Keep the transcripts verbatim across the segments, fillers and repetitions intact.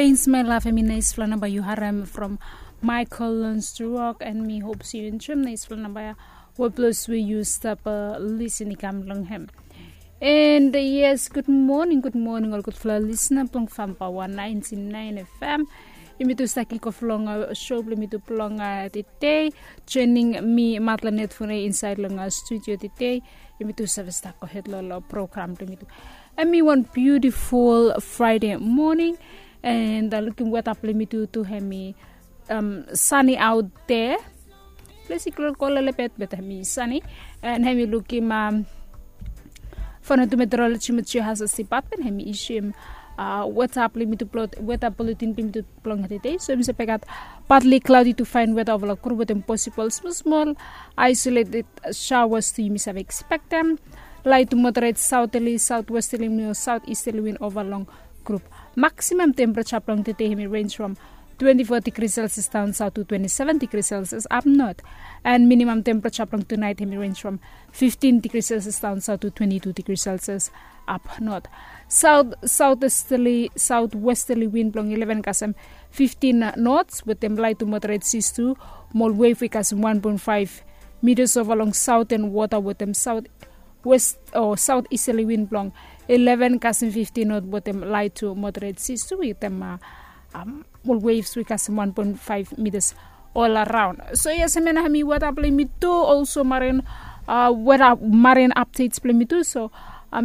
Pains my love, hemi naispela namba yu harem from Michael Learns to Rock, and mi hope se yu enjoem naispela namba ya. Weplos we yu stap lisin i kam long hem. And yes, good morning, good morning ol gudfala lisna blong Famba one ninety-nine F M. Yumi tu stap kikof long show blong yumi tu blong tede. Joining mi Matla Netfune inside long studio tede. Yumi tu save stap gohed long program blong yumi tu. Hemi wan beautiful Friday morning. And lukim weta blong yumi tu tu hemi sunny out there. Ples i kloklo lelebet, but hemi sunny. And hemi lukim Vanuatu Meteorology Meteor Hazards Department hemi issuem weta blong yumi tu, weta bulletin blong yumi tu blong tede. So hemi save gat partly cloudy to fine weather over long group wetem possible small small isolated showers tu yumi save expectem. Light to moderate southerly, southwesterly mo southeasterly wind over long group. Maximum temperature blong tede hemi range from twenty-four degrees Celsius down south to twenty-seven degrees Celsius up north. And minimum temperature blong tonight hemi range from fifteen degrees Celsius down south to twenty-two degrees Celsius up north. South southeasterly, southwesterly wind blong eleven kasem fifteen knots wetem light to moderate seas tu. Mo ol wave we kasem one point five meters over long southern water wetem south west o southeasterly wind blong eleven kasem fifteen knot wetem light to moderate seas tu wetem ol waves we kasem one point five meters all around. So yes, hemia na hemi weta blong yumi tu, also marine weta, marine updates blong yumi tu. So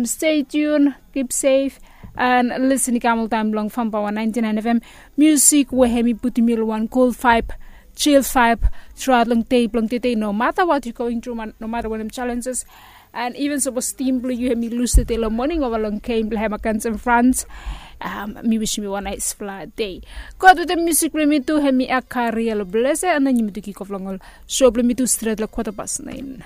stay tuned, keep safe, and listen i kam oltaem long Famba one ninety-nine F M. Music we hemi putum yu long wan cool vibe, chill vibe throughout long dei blong tede, no matter what you going through, no matter wanem challenges. And even sapos tim blong yu hemi lus tede long moning ova long game blong hem against France, mi wisim yu wan naispela dei. Go ahed wetem musik blong yumi tu, hemi Akaria long Blese, and then yumi tu kikof long ol show blong yumi tu stret long kwata pas naen.